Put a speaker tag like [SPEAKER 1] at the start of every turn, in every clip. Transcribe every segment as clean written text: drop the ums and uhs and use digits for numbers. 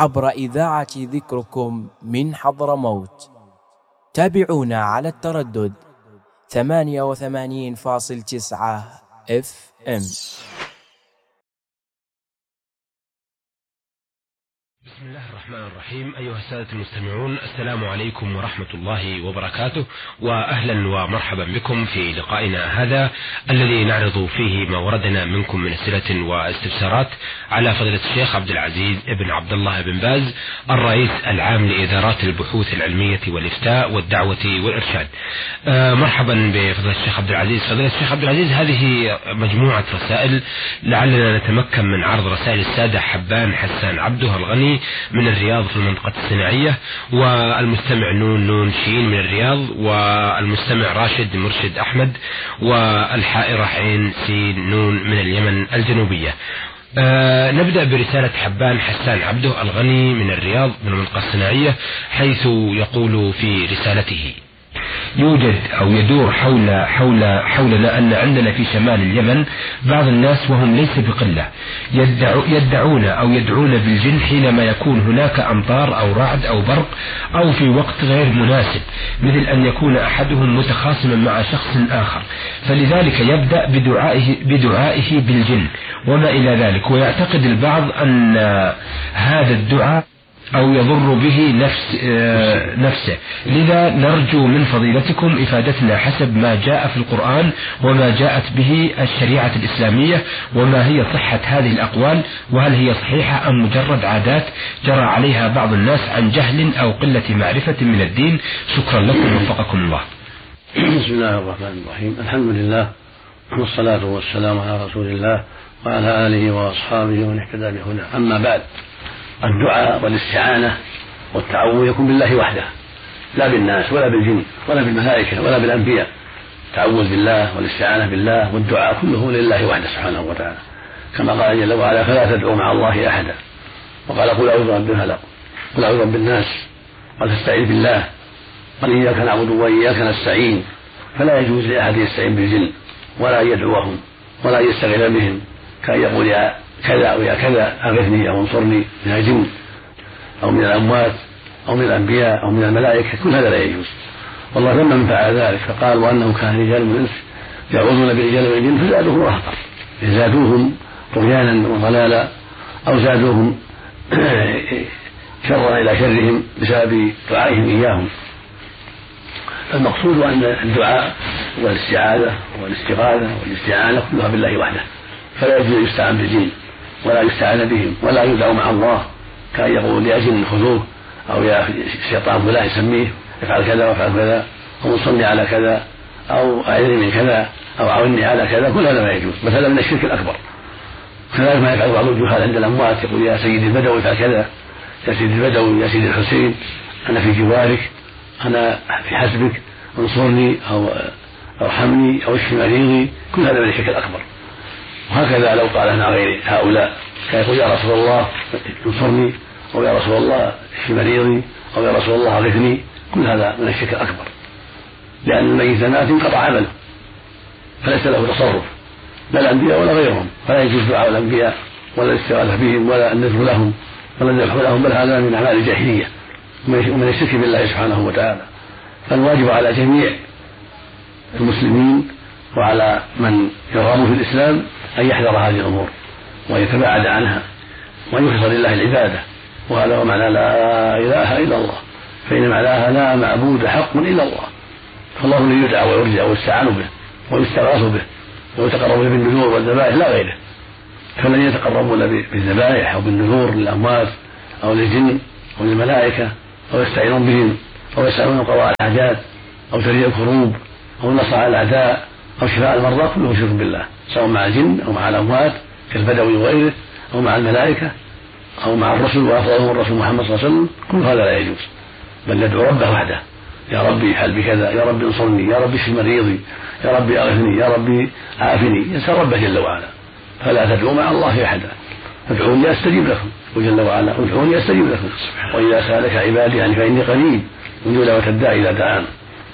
[SPEAKER 1] عبر إذاعة ذكركم من حضرموت. تابعونا على التردد 88.9 FM.
[SPEAKER 2] بسم الله الرحمن الرحيم. أيها السادة المستمعون، السلام عليكم ورحمة الله وبركاته، وأهلا ومرحبا بكم في لقائنا هذا الذي نعرض فيه ما وردنا منكم من أسئلة واستفسارات على فضيلة الشيخ عبد العزيز ابن عبد الله بن باز، الرئيس العام لإدارات البحوث العلمية والإفتاء والدعوة والإرشاد. مرحبا بفضيلة الشيخ عبد العزيز. فضيلة الشيخ عبد العزيز، هذه مجموعة رسائل لعلنا نتمكن من عرض رسائل السادة حبان حسان عبده الغني من الرياض في المنطقة الصناعية، والمستمع نون شين من الرياض، والمستمع راشد مرشد أحمد، والحائرة عين سين نون من اليمن الجنوبية. نبدأ برسالة حبان حسان عبده الغني من الرياض من المنطقة الصناعية، حيث يقول في رسالته: يوجد أو يدور حولنا أن عندنا في شمال اليمن بعض الناس، وهم ليس بقلة، يدعون أو يدعون بالجن حينما يكون هناك أمطار أو رعد أو برق أو في وقت غير مناسب، مثل أن يكون أحدهم متخاصما مع شخص آخر، فلذلك يبدأ بدعائه بالجن وما إلى ذلك، ويعتقد البعض أن هذا الدعاء أو يضر به نفسه. لذا نرجو من فضيلتكم إفادتنا حسب ما جاء في القرآن وما جاءت به الشريعة الإسلامية، وما هي صحة هذه الأقوال، وهل هي صحيحة أم مجرد عادات جرى عليها بعض الناس عن جهل أو قلة معرفة من الدين. شكرا لكم وفقكم الله.
[SPEAKER 3] بسم الله الرحمن الرحيم. الحمد لله والصلاة والسلام على رسول الله وعلى آله وأصحابه ومن اهتدى بهداه. أما بعد، الدعاء والاستعانة والتعوذ يكون بالله وحده، لا بالناس ولا بالجن ولا بالملائكة ولا بالأنبياء. التعوذ بالله والاستعانة بالله والدعاء كله لله وحده سبحانه وتعالى، كما قال جل وعلا: فلا تدعوا مع الله أحدا. وقال: قل أعوذ برب الفلق، قل أعوذ برب الناس، وتستعيذ بالله، قال: إياك نعبد وإياك نستعين. فلا يجوز لأحد يستعين بالجن ولا يدعوهم ولا يستغل بهم، كان يقول يا كذا أو يا كذا أغثني أو انصرني من الجن أو من الأموات أو من الأنبياء أو من الملائكة، كل هذا لا يجوز. والله ذم من فعل ذلك، فقال: وأنه كان رجال من الإنس يعوذون برجال من الجن فزادوهم رهقا، زادوهم طغيانا وضلالا أو زادوهم شرا إلى شرهم بسبب دعائهم إياهم. المقصود أن الدعاء والاستعاذة والاستغاثة والاستعانة كلها بالله وحده، فلا يجوز أن يستعان بالجن ولا يستعان بهم ولا يدعو مع الله، كان يقول يا جن خذوه أو يا شيطان فلان يسميه افعل كذا وافعل كذا، أو انصرني على كذا، أو أعذني من كذا، أو عاوني على كذا، كل هذا ما يجوز، مثلا من الشرك الأكبر. كذلك ما يفعل بعض الجهال عند الأموات، يقول يا سيدي البدوي افعل كذا، يا سيدي البدوي، يا سيدي الحسين، أنا في جوارك، أنا في حسبك، انصرني أو ارحمني أو اشف مريضي، كل هذا من الشرك الأكبر. وهكذا لو قال عن غير هؤلاء، كان يقول يا رسول الله انصرني، أو يا رسول الله اشف مريضي، أو يا رسول الله اغثني، كل هذا من الشرك الأكبر، لأن الميت مات انقطع عمله فليس له تصرف، لا الأنبياء ولا غيرهم، فلا يجوز دعاء الأنبياء ولا الاستغاثة بهم ولا النذر لهم ولا الذبح لهم، بل هذا من أعمال الجاهلية ومن الشرك بالله سبحانه وتعالى. فالواجب على جميع المسلمين وعلى من يرغب في الإسلام أن يحذر هذه الأمور ويتباعد عنها ويخلص لله العبادة، وهذا هو معنى لا إله إلا الله، فإن معناها لا معبود حق إلا الله، فالله الذي يدعى ويرجى ويستعان به ويستغاث به ويتقرب به بالنذور والذبائح لا غيره. فالذين يتقربون بالذبائح أو بالنذور للأموات أو للجن أو للملائكة أو يستعينون بهم أو يسألون قضاء الحاجات أو تريء الكروب أو النصر على الأعداء أو شفاء المرضى، كله شرك بالله، سواء مع الجن أو مع الأموات كالبدوي وغيره، أو مع الملائكة أو مع الرسل وأفضلهم الرسول محمد صلى الله عليه وسلم، كل هذا لا يجوز، بل ندعو ربه وحده: يا ربي افعل بكذا، يا ربي انصرني، يا ربي اشف مريضي، يا ربي اغثني، يا ربي عافني، يسأل ربه جل وعلا. فلا تدعوا مع الله أحدا، ادعوني أستجيب لكم، وجل وعلا ادعوني أستجيب لكم، وإذا سألك عبادي عني فإني قريب أجيب دعوة الداعي إذا دعان،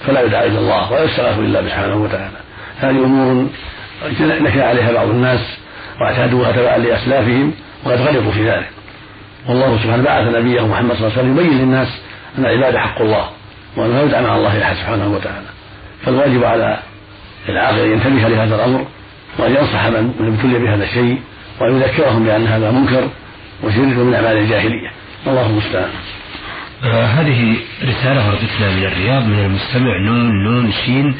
[SPEAKER 3] فلا يدعى إلا الله ولا يستغاث إلا سبحانه وتعالى. هذه أمور نكى عليها بعض الناس واعتادوها تبعا لأسلافهم وقد غلطوا في ذلك، والله سبحانه بعث نبيه محمد صلى الله عليه وسلم يبين للناس أن العبادة حق الله وأن لا يدعى مع الله أحد سبحانه وتعالى. فالواجب على العاقل أن ينتبه لهذا الأمر وأن ينصح من ابتلي بهذا الشيء وأن يذكرهم بأن هذا منكر وشرك من أعمال الجاهلية. الله المستعان.
[SPEAKER 2] هذه رسالة وردتنا من الرياض من المستمع نون شين،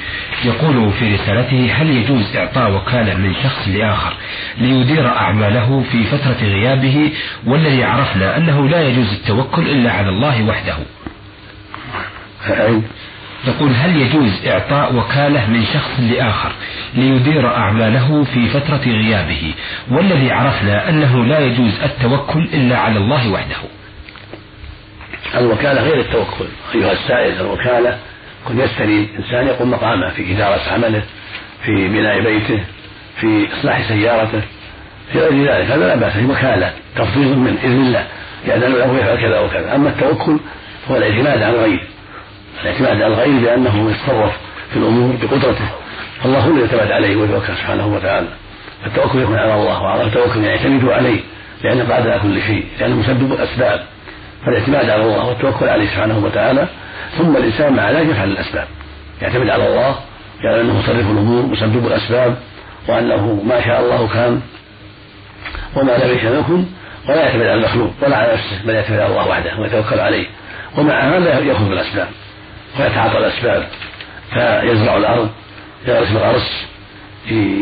[SPEAKER 2] يقول في رسالته: هل يجوز إعطاء وكالة من شخص لآخر ليدير أعماله في فترة غيابه، والذي عرفنا أنه لا يجوز التوكل إلا على الله وحده؟ يقول: هل يجوز إعطاء وكالة من شخص لآخر ليدير أعماله في فترة غيابه، والذي عرفنا أنه لا يجوز التوكل إلا على الله وحده؟
[SPEAKER 3] الوكالة غير التوكل أيها السائل. الوكالة كن يستري إنسان يقوم مقامه في إدارة عمله، في بناء بيته، في إصلاح سيارته، في غير ذلك، هذا لا بأس، هي وكالة تفويض من إذن الله يأذن له يفعل كذا وكذا. أما التوكل هو الاعتماد على الغير، الاعتماد على الغير بأنه يتصرف في الأمور بقدرته، فالله هو الذي يعتمد عليه ويتوكل سبحانه وتعالى. فالتوكل يكون على الله، وعلى التوكل يعتمد عليه لأنه قادر على كل شيء، لأنه مسبب الأسباب. فالاعتماد على الله والتوكل عليه سبحانه وتعالى، ثم الإنسان مع ذلك يفعل الأسباب، يعتمد على الله، يعني أنه مصرف الأمور مسبب الأسباب، وأنه ما شاء الله كان وما لم يشاء يكن، ولا يعتمد على المخلوق ولا على نفسه، بل يعتمد على الله وحده ويتوكل عليه. ومع هذا يأخذ بالأسباب ويتعاطى الأسباب، فيزرع الأرض، يغرس الغرس،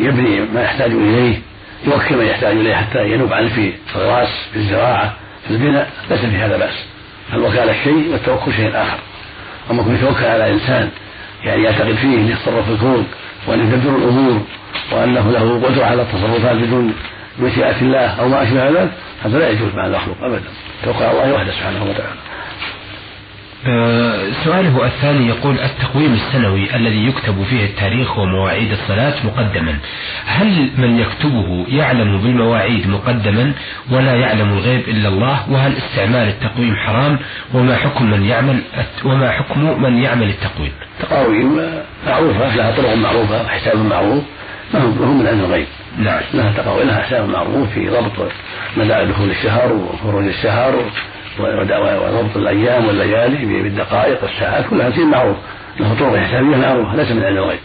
[SPEAKER 3] يبني ما يحتاج إليه، يوكل من يحتاج إليه حتى ينوب عنه في الغراس، في الزراعة، في البناء، ليس في هذا بأس. الوكالة شيء والتوكل شيء آخر. أما كن يتوكل على إنسان يعني يعتقد فيه أن يتصرف في الكون وأن يدبر الأمور وأنه له قدرة على التصرفات بدون مشيئة الله أو ما أشبه ذلك، هذا لا يجوز مع المخلوق أبدا. توكل على الله وحده سبحانه وتعالى.
[SPEAKER 2] سؤاله الثاني يقول: التقويم السنوي الذي يكتب فيه التاريخ ومواعيد الصلاة مقدما، هل من يكتبه يعلم بالمواعيد مقدما ولا يعلم الغيب إلا الله؟ وهل استعمال التقويم حرام؟ وما حكم من يعمل التقويم؟
[SPEAKER 3] التقاويم معروفة، لها طرق معروفة وحساب معروف، ما هو من علم الغيب.
[SPEAKER 2] نعم.
[SPEAKER 3] لها تقاويم، لها حساب معروف في ضبط مدى دخول الشهر وخروج الشهر وضبط الأيام والليالي بالدقائق والساعات، كلها شيء معروف، له طرق حسابية معروفة، ليس من علم الغيب،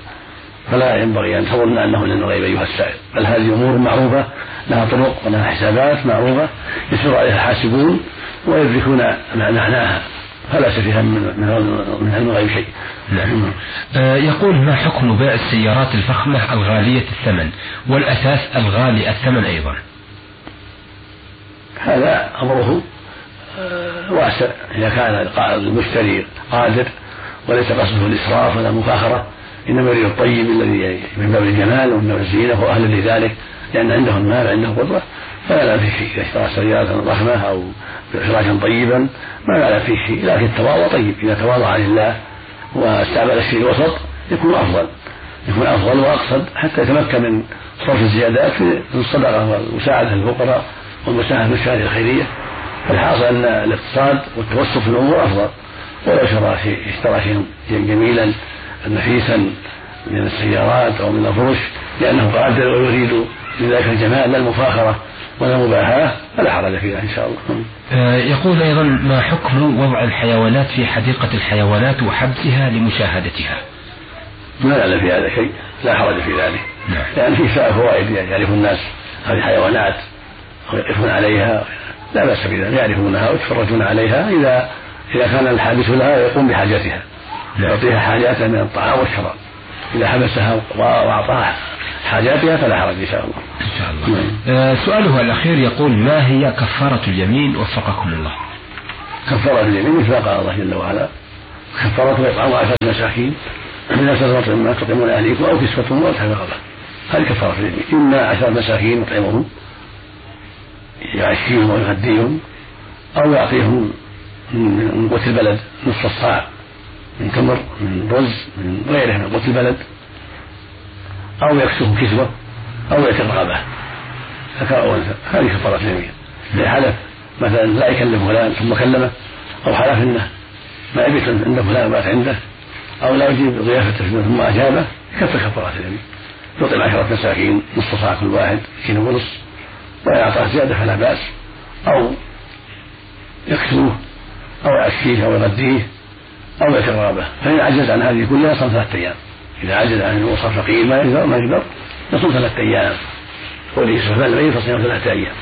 [SPEAKER 3] فلا ينبغي أن تظن أنه من علم الغيب أيها السائل، بل هذه أمور معروفة لها طرق ولها حسابات معروفة يسير عليها الحاسبون ويدركون معناها، فلا فيها من علم الغيب شيء.
[SPEAKER 2] نعم. يقول: ما حكم بيع السيارات الفخمة الغالية الثمن والأثاث الغالي الثمن أيضا؟
[SPEAKER 3] هذا أمره واسع، إذا كان المشتري قادر وليس قصده الإسراف ولا المفاخرة، إنما يريد الطيب الذي من باب الجمال ومن باب الزينة وأهل لذلك، لأن عنده المال عنده قدرة، فلا لا فيه شيء. إذا اشترى سيارة ضخمة أو فراشا طيبا ما لا فيه شيء، لكن التواضع طيب، إذا تواضع لله واستعمل الشيء الوسط يكون أفضل وأقصد، حتى يتمكن من صرف الزيادات في الصدقة والمساعدة للفقراء والمساهمة في الشهادة الخيرية. فالحاصل أن الاقتصاد والتوسط في الأمور أفضل. ولو اشترى شيئا جميلا نفيسا من السيارات أو من الفرش لأنه قادر ويريد لذلك الجمال لا المفاخرة ولا المباحاة، فلا حرج فيها إن شاء الله.
[SPEAKER 2] يقول أيضا: ما حكم وضع الحيوانات في حديقة الحيوانات وحبسها لمشاهدتها؟
[SPEAKER 3] ما يعلم في هذا شيء، لا حرج في ذلك.
[SPEAKER 2] نعم.
[SPEAKER 3] لأن فيه فوائد يعرف الناس هذه الحيوانات ويقفون عليها، لا بأس بذلك، يعرفونها ويتفرجون عليها إذا كان الحابس لها يقوم بحاجتها، يعطيها حاجاتها من الطعام والشراب. إذا حبسها وأعطاها حاجاتها فلا حرج إن شاء الله.
[SPEAKER 2] إن شاء الله. سؤاله الأخير يقول: ما هي كفارة اليمين وفقكم الله؟
[SPEAKER 3] كفارة اليمين مثل قال الله جل وعلا: كفارة إطعام 10 مساكين من أسر ما تطعمون أهليكم أو كسوتهم أو تحرير رقبة. هذه كفارة اليمين، إما 10 مساكين يطعمهم يعشيهم ويغديهم، أو يعطيهم من قوت البلد نصف الصاع من تمر من رز من غيره من قوت البلد، أو يكسوهم كسوة، أو يعتق رقبة ذكر أو أنثى. هذه كفارة اليمين. حلف مثلا لا يكلم فلان ثم كلمه، أو حلف إنه ما يبيت عند فلان بات عنده، أو لا يجيب ضيافته ثم أجابه، يكفر كفارة اليمين. يطعم 10 مساكين نصف صاع كل واحد كيلو ونصف، ويعطى زيادة فلا بأس، أو يكسوه أو يعشيه أو يغذيه أو يتغابه، فإن عجز عن هذه كلها يصوم 3 أيام. إذا عجز عن الوصف فقير ما يقدر يصوم 3 أيام، وليسفل العيد فصيام 3 أيام،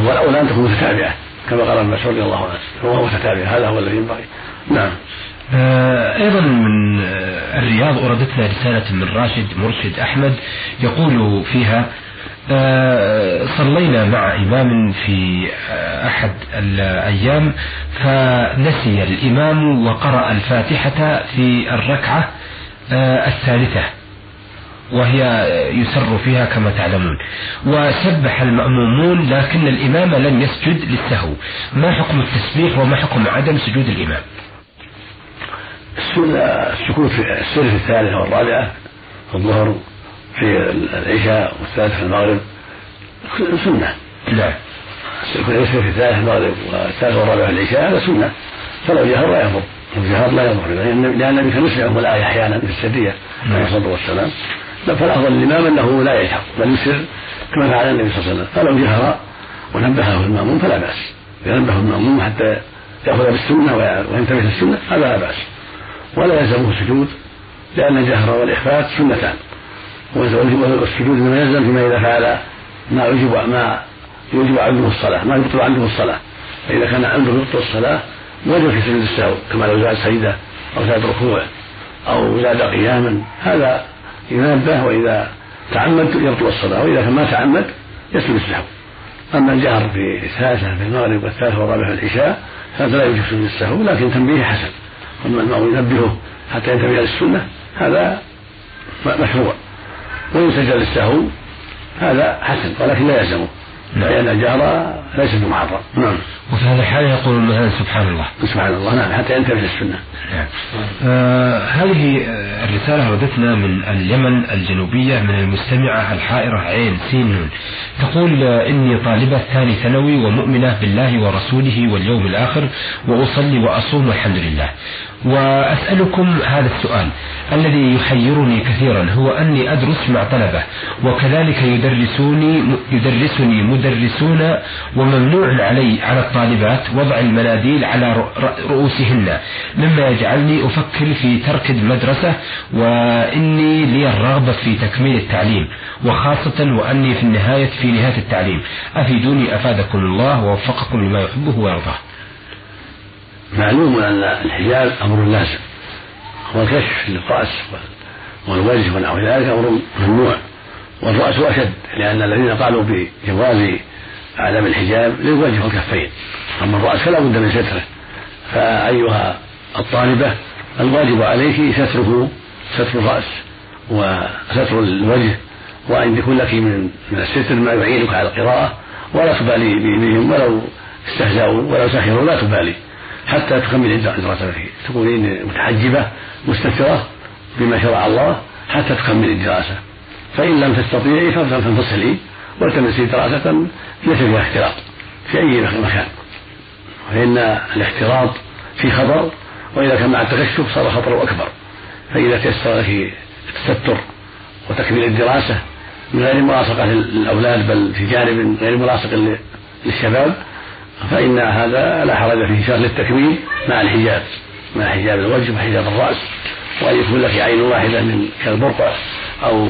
[SPEAKER 3] والأولى أن تكون متتابعة كما قال ابن مسعود رضي الله عنه، هو متتابع، هذا هو الذي ينبغي. نعم.
[SPEAKER 2] أيضا من الرياض أوردتنا رسالة من راشد مرشد أحمد يقول فيها: صلينا مع إمام في أحد الأيام فنسي الإمام وقرأ الفاتحة في الركعة الثالثة وهي يسر فيها كما تعلمون، وسبح المأمومون لكن الإمام لم يسجد للسهو، ما حكم التسبيح وما حكم عدم سجود الإمام؟
[SPEAKER 3] السكوت في السر في 3 والرابعة في الظهر في العشاء والثالث في المغرب سنة.
[SPEAKER 2] لا
[SPEAKER 3] السكوت في 3 المغرب والثالث والرابعة في العشاء هذا سنة، فلو جهر لا يضر، لو جهر لا يضر، لأن النبي كان يسمعه الآية أحيانا في السرية عليه الصلاة والسلام، فالأفضل للإمام أنه لا يجهر بل يسر كما فعل النبي صلى الله عليه وسلم، فلو جهر ونبهه المأموم فلا بأس، ينبه المأموم حتى يأخذ بالسنة وينتبه للسنة هذا لا بأس، ولا يلزمه السجود لأن الجهر والإخفات سنتان، والسجود ما يلزم فيما إذا فعل ما يوجب عنده الصلاة، ما يبطل عنده الصلاة، فإذا كان عنده يبطل الصلاة وجب في سجود السهو كما لو زاد سجدة أو زاد ركوع أو زاد قياما، هذا ينبه، وإذا تعمد يبطل الصلاة، وإذا ما تعمد يسجد السهو. أما الجهر في 3 في المغرب والثالث والرابع في العشاء هذا لا يوجب سجود السهو، لكن تنبيه حسن، وما المأموم ينبهه حتى ينتبه للسنة هذا مشروع، ويسجد للسهو هذا حسن ولكن لا يلزمه لأن الجهر ليس بمحرم. نعم.
[SPEAKER 2] وفي هذا الحال يقول مثلا سبحان الله
[SPEAKER 3] سبحان الله، نعم، حتى ينتبه للسنة.
[SPEAKER 2] نعم. هذه الرسالة وردتنا من اليمن الجنوبية من المستمعة الحائرة عين سين، تقول: إني طالبة 2 ثانوي ومؤمنة بالله ورسوله واليوم الآخر وأصلي وأصوم والحمد لله، وأسألكم هذا السؤال الذي يحيرني كثيرا، هو أني أدرس مع طلبة وكذلك يدرسني مدرسون، وممنوع على الطالبات وضع المناديل على رؤوسهن، مما يجعلني أفكر في ترك المدرسة، وإني لي الرغبة في تكميل التعليم، وخاصة وأني في نهاية التعليم، أفيدوني أفادكم الله ووفقكم لما يحبه ويرضاه.
[SPEAKER 3] معلوم أن الحجاب أمر لازم، والكشف للرأس والوجه ونحو ذلك أمر ممنوع، والرأس أشد، لأن الذين قالوا بجواز عدم الحجاب للوجه والكفين، أما الرأس فلا بد من ستره. فأيها الطالبة الواجب عليك ستر الرأس وستر الوجه، وأن يكون لك من الستر ما يعينك على القراءة، ولا تبالي بهم ولو استهزأوا ولو سخروا، لا تبالي حتى تكمل دراستك، تكونين متحجبة مستترة بما شرع الله حتى تكمل الدراسة، فإن لم تستطيعي فانفصلي والتمسي دراسة ليس فيها اختلاط في أي مكان، فإن الاختلاط في خطر، وإذا كان مع التكشف صار خطر أكبر. فإذا تيسر لك التستر وتكميل الدراسة من غير ملاصقة للأولاد بل في جانب غير ملاصق للشباب فإن هذا لا حرج فيه، شرط للتكميل مع الحجاب، مع حجاب الوجه وحجاب الرأس، وأن يكون لك عين واحدة من كالبرقع أو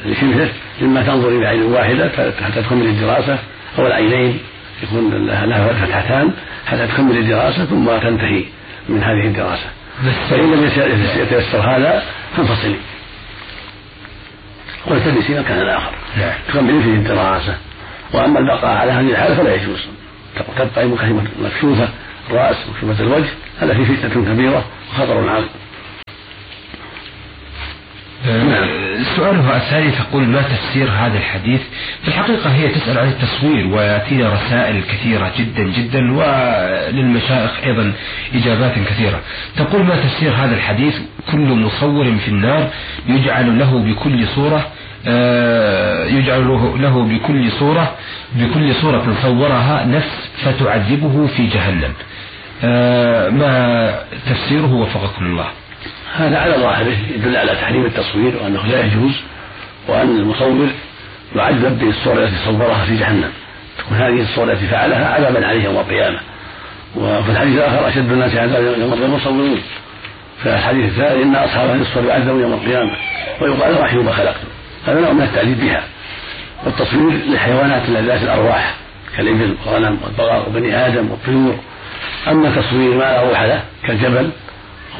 [SPEAKER 3] لشبهه مما تنظر إلى عين واحدة حتى تكمل الدراسة، أو العينين يكون لها فتحتان حتى تكمل الدراسة ثم تنتهي من هذه الدراسة. فإن لم يتيسر هذا فانفصلي والتبسي مكانا آخر تكمل فيه الدراسة. وأما البقاء على هذه الحالة فلا يجوز، تبقى مكشوفة الرأس مكشوفة الوجه، هذا فيه فتنة كبيرة وخطر عظيم.
[SPEAKER 2] سؤالها الثاني تقول: ما تفسير هذا الحديث؟ في الحقيقة هي تسأل عن التصوير، ويأتينا رسائل كثيرة جدا جدا، وللمشايخ أيضا إجابات كثيرة. تقول: ما تفسير هذا الحديث؟ كل مصور في النار يجعل له بكل صورة صورها نفس فتعذبه في جهنم، ما تفسيره وفقكم الله؟
[SPEAKER 3] هذا على ظاهره يدل على تحريم التصوير وأنه لا يجوز، وأن المصور يعذب بالصورة التي صورها في جهنم، تكون هذه الصورة التي فعلها عذابا عليه يوم القيامة، وفي الحديث الآخر أشد الناس عذابا يوم القيامة المصورون. فالحديث الثاني إن أصحاب هذه الصور يعذبون يوم القيامة ويقال رحموا ما خلقتم. هذا نوع من التعذيب بها. والتصوير للحيوانات ذات الأرواح كالإبل والغنم والبقر وبني آدم والطيور. أما تصوير ما لا روح له كالجبل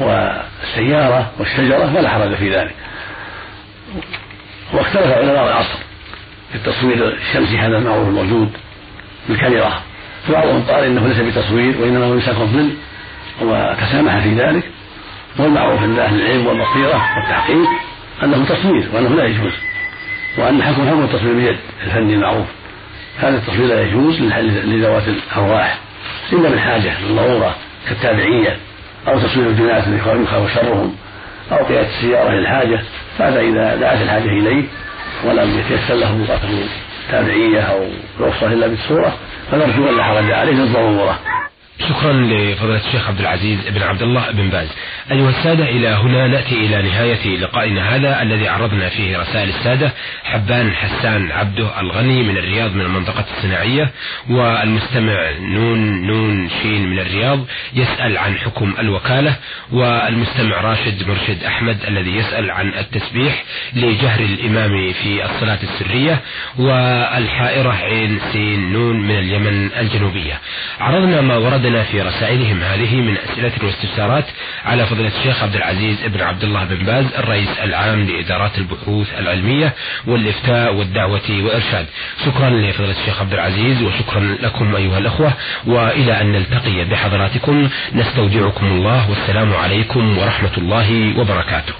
[SPEAKER 3] والسيارة والشجرة فلا حرج في ذلك. واختلف علماء العصر في التصوير الشمسي هذا المعروف الموجود بالكاميرا، فبعضهم قال إنه ليس بتصوير وإنما هو يمسك الظل وتسامح في ذلك، والمعروف عند أهل العلم والبصيرة والتحقيق أنه تصوير وأنه لا يجوز، وأن حكم التصوير بيد الفني المعروف. هذا التصوير لا يجوز لذوات الأرواح إلا من حاجة للضرورة كالتابعية أو تصوير الجنات يخاف شرهم أو قيادة السيارة للحاجة، فهذا إذا دعت الحاجة إليه ولم يتيسر له بقاته تابعية أو رخصة إلا بالصورة فنرجو أن لا حرج عليه للضرورة.
[SPEAKER 2] شكرا لفضيلة الشيخ عبد العزيز بن عبد الله بن باز. أيها السادة، إلى هنا نأتي إلى نهاية لقائنا هذا الذي عرضنا فيه رسائل السادة. حبان حسان عبده الغني من الرياض من المنطقة الصناعية، والمستمع نون شين من الرياض يسأل عن حكم الوكالة، والمستمع راشد مرشد أحمد الذي يسأل عن التسبيح لجهر الإمام في الصلاة السرية، والحائرة عين سين نون من اليمن الجنوبية. عرضنا ما وردنا في رسائلهم هذه من أسئلة واستفسارات على فضيلة الشيخ عبد العزيز بن عبد الله بن باز الرئيس العام لإدارات البحوث العلمية والإفتاء والدعوة والإرشاد. شكرا لفضيلة الشيخ عبد العزيز وشكرا لكم أيها الأخوة، وإلى أن نلتقي بحضراتكم نستودعكم الله، والسلام عليكم ورحمة الله وبركاته.